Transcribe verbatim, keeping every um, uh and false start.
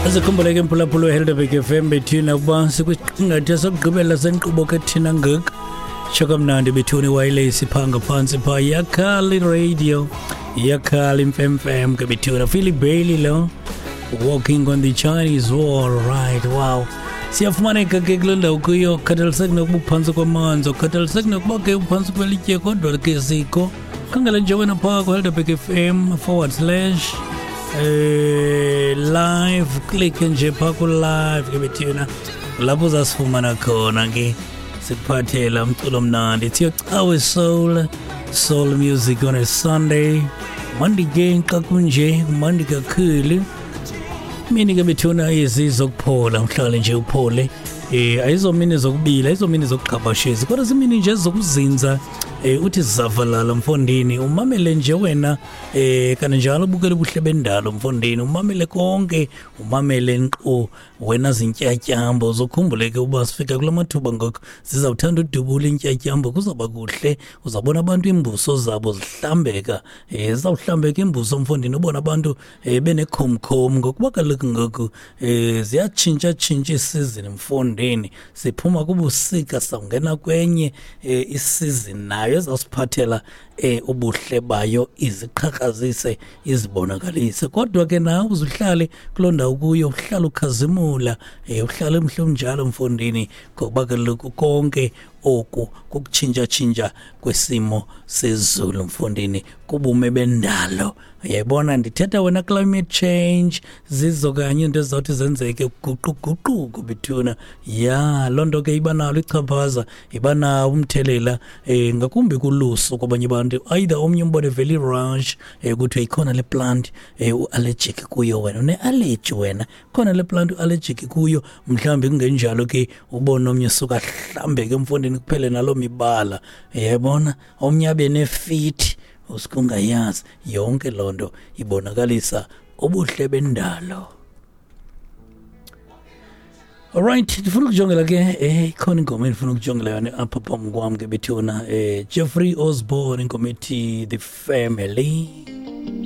Azikhumbule ke mphulaphula weHelderberg F M bethina ukuba sikwisiqingatha sokugqibela senkqubo ke thina ngoku. Tsho kamnandi bethuni wireless phaa ngaphantsi phaa yakhala iradio, yakhala imfemfem ke bethuna. Philip Bailey lo, Walking on the Chinese Wall, right, wow. Siyafumaneka ke kule ndawo kuyo, khathaliseki nokuba uphantsi kwamanzi, khathaliseki nokuba ke uphantsi kwelitye, kodwa ke sikho. Khangela nje wena phaa kuHelderberg F M forward slash eh live, click nje phaa ku-live ke bethuna, lapho uzasifumana khona ke sikuphathela umculo omnandi. It's your Cawe Soul, soul music on a Sunday. Mandi ke xa kunje, mandi kakhulu. Mini ke bethuna izizokuphola, uhlale nje uphole. Eh ayizomini zokubila, ayizomini zokugqabashezi, kodwa zimini nje zokuzinza. Eh uthi zavalala mfondini, umamele nje wena eh kanjalo ubukele ubuhle bendalo mfondini, umamele konke, umamele nkqo wena zintyatyambo. Zokhumbuleke uba sifika kula mathuba ngoku zizawuthanda udubula intyatyambo, kuzawuba kuhle, uzabona abantu imbuso zabo zihlambeka. Eh zizawuhlambeka imbuso mfondini, ubona abantu eh benekhomkhom ngokuba kaloku ngoku eh ziyatshintsha tshintsha isizini mfondini, siphuma kubusika sawungena kwenye eh isizini nayo ezasiphathela eh ubuhle bayo, iziqhakazise izibonakalise. Kodwa ke nawe uzuhlale kuloo ndawo kuyo, uhlale ukhazimula, eh uhlale umhle unjalo mfondini, ngokuba kaloku konke oku kukutshintsha-tshintsha kwesimo sezulu mfondini, kubume bendalo. Uyayibona ndithetha wena climate change, zizo kanye into ezizawuthi zenzeke, guquguquko bethuna. Ya loo nto ke iba nalo ichaphaza, iba nawo umthelela eh ngakumbi kulusu kwabanye abantu. Either omnye umbone vele rush eh kuthiwe ikhona le plant eh u-allergic kuyo wena, une-allergy wena, khona le plant u-allergic kuyo. Mhlawumbi kungenjalo ke ubone omnye suka hlambeke mfondini kuphele naloo mibala, uyayibona, omnye abe nefithi usukungayazi. Yonke loo nto ibonakalisa ubuhle bendalo. Alright, ndifuna ukujongela ke eh ikhona ingoma endifuna ukujongela yona apha phambi kwam ke bethuna, eh Jeffrey Osborne, ingoma ethi The Family.